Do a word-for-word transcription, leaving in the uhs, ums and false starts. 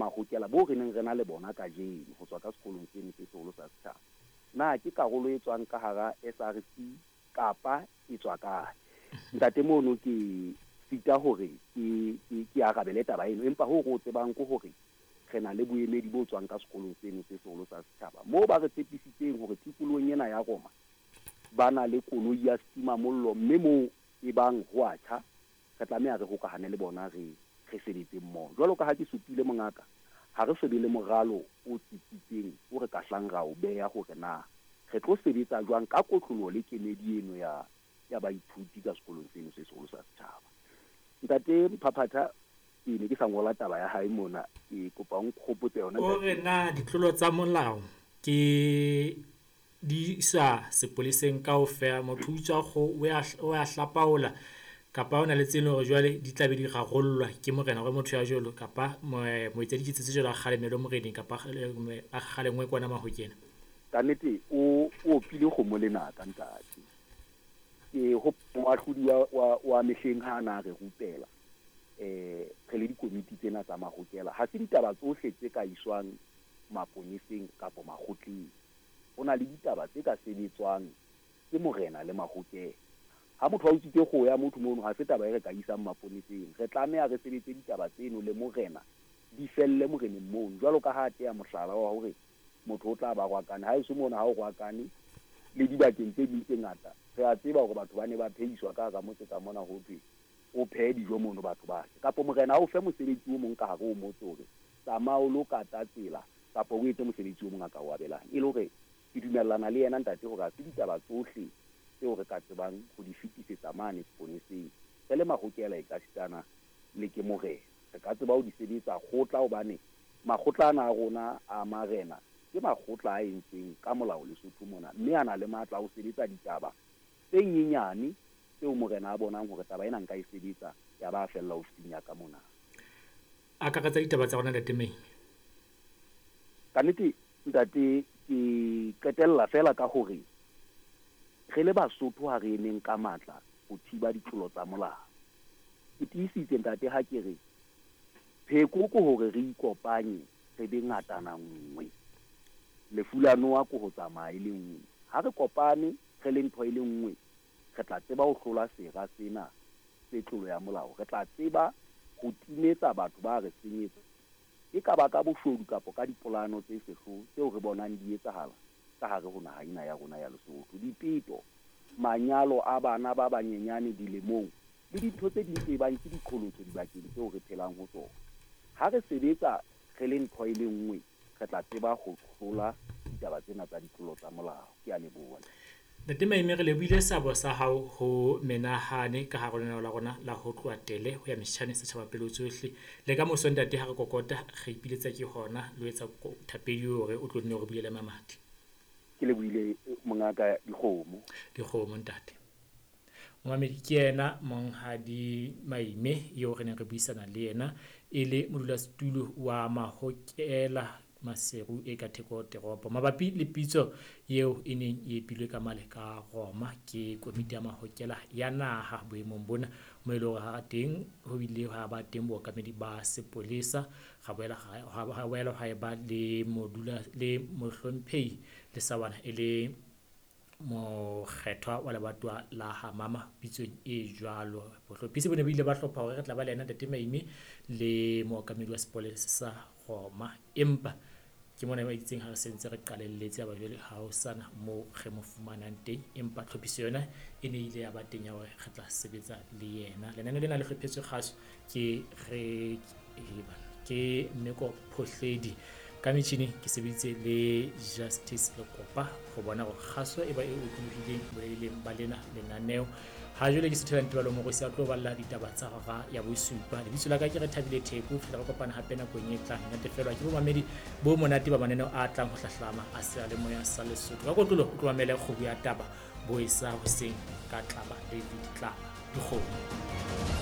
mahokela bo re neng re na le bona kajeno ho tswa ka sekolong seno se seholo sa setjhaba, na ke karolo e tswang ka hara S R C kapa e tswa kae? Ntate mono ke sita hore ke ke ke arabele taba eno, empa ho re o tsebang ke hore re na le boemedi bo tswang ka sekolong seno se seholo sa setjhaba moo ba re tshepisitseng hore tikolohong ena ya Roma ba na le koloi ya setimamollo, mme moo e bang ho a tjha re tlameha re hokahane le bona re re sebetse mmoho. Jwalo ka ha ke supile mongaka, ha re so be le moralo o tsitsitseng o re ka hlang ra o beha hore na re tlo sebetsa jwang ka kotloloho le kemedi eno ya ya baithuti ka sekolong seno se seholo sa setjhaba. Ntate Mphaphatha, ke ne ke sa ngola taba ya hae mona, ke kopa o nkgopotse yona. O re na ditlolo tsa molao ke di isa sepoleseng kaofela, motho o utswa kgoho o ya o ya hlapaola kapa o na le tse leng hore jwale di tla be di rarollwa ke morena hore motho ya jwalo kapa moetsa diketso tse jwalo a kgalemelwe moreneng kapa a kgalengwe kwana mahokela. Ka nnete o o opile kgomo lenaka ntate. Ke ho moahlodi wa wa wa mehleng ha na re rupela eh re le dikomiti tsena tsa mahokela, ha se ditaba tsohle tse ka iswang maponeseng kapa makgotleng. Ho na le ditaba tse ka sebetswang ke morena le mahokela. Ha motho a utswitse kgoho ya motho mono, ha se taba e re ka isang maponeseng. Re tlameha re sebetse ditaba tseno le morena, di felle moreneng mono. Jwalo ka ha a teya mohlala wa hore motho o tla ba rwakane, ha eso mona ha o rwakane le dibakeng tse ding tse ngata, re a tseba hore batho ba ne ba phehiswa ka hara motse ka mona, ho thwe o phehe dijo mono batho ba je, kapa morena a o fe mosebetsi o mong ka hare ho motse hore tsamaya o lo kata tsela kapa o etse mosebetsi o mong a ka o abelang. E le hore ke dumellana le yena ntate hore ha se ditaba tsohle tseo re ka tsebang ho di fetisetsa mane seponeseng. Re le mahokela e ka sitana le ke morena, re ka tseba ho di sebetsa kgotla, hobane makgotla ana a rona a marena ke makgotla a entsweng ka molao Lesotho mona, mme a na le matla a ho sebetsa ditaba tse nyenyane tseo morena a bonang hore taba ena nka e sebetsa, ya ba fella ofising ya ka mona. Akaretsa ditaba tsa rona ntate Maime. Ka nnete ntate, ke qetella fela ka hore re le Basotho ha re emeng ka matla ho thiba ditlolo tsa molao. Ke tiisitse ntate ha ke re pheko ke hore re ikopanye re be ngatana nngwe. Lefu la noha ke ho tsamaya e le nngwe. Ha re kopane re le ntho e le nngwe, re tla tseba ho hlola sera sena se tlolo ya molao. Re tla tseba ho timetsa batho ba re senyetsa, e ka ba ka boshodu kapa ka dipolano tse sehloho tseo re bonang di etsahala ka hare ho naha ena ya rona ya Lesotho. Dipeto, manyalo a bana ba banyenyane dilemong le dintho tse ding tse bang ke diqholotso dibakeng tseo re phelang ho tsona. Ha re sebetsa re le ntho e le nngwe, re tla tseba ho hlola ditaba tsena tsa ditlolo tsa molao. Ke a leboha. Ntate Maime, re lebohile seabo sa hao ho menahane ka hare lenaneo la rona la ho tloha tele ho ya metjhane setjhaba pele tsohle. Le ka moso ntate ha re kokota re ipiletsa ke hona le ho etsa thapedi hore o tlo nne o re bulele mamati. Ke lebohile mongaka dikgomo. Dikgomo ntate. Momamedi ke yena Monghadi Maime eo re neng re buisana le yena e le modulasetulo wa mahokela Maseru e ka theko teropo mabapi le pitso eo e neng e epilwe ka male ka Roma ke komiti ya mahokela ya naha boemong bona mo e leng hore ha teng ho ile ha ba teng bookamedi ba sepolesa, ga boela ha boela ha eba le modula le mohlomphehi le sawana e le mokgethwa wa lebatowa la ha mama pitsong e jwalo. Bohlophisi bo ne bo ile ba hlopha hore re tla ba le yena ntate Maime le mookamedi wa sepolesa sa Roma, empa ke mona ba itseng ha re sentse re qalelletse ya ba jwale ha ho sana moo re mo fumanang teng, empa tlhophiso yona e ne ile ya ba teng ya hore re tla sebetsa le yena. Lenaneo lena le hlophetswe kgaso ke re ke Mmeko Phohledi ka metjhini ke sebeditse le Justice Lekopa ho bona hore kgaso e ba e otlolohileng boleleng ba lena lenaneo. Ha jwale ke Sethela Ntebalo Morosi a tlo balla ditaba tsa hora ya bosupa. Lebitso la ka ke Rethabile Theko, fihla re kopana hape nakong e tlang. Natefelwa ke bomamedi bo monate ba mananeo a tlang ho hlahlama a seyalemoya sa Lesotho. Ka kotlolo o tlo mamele kgobu ya taba bo e sa hoseng ka Tlaba David Tlaba. Dikgomo.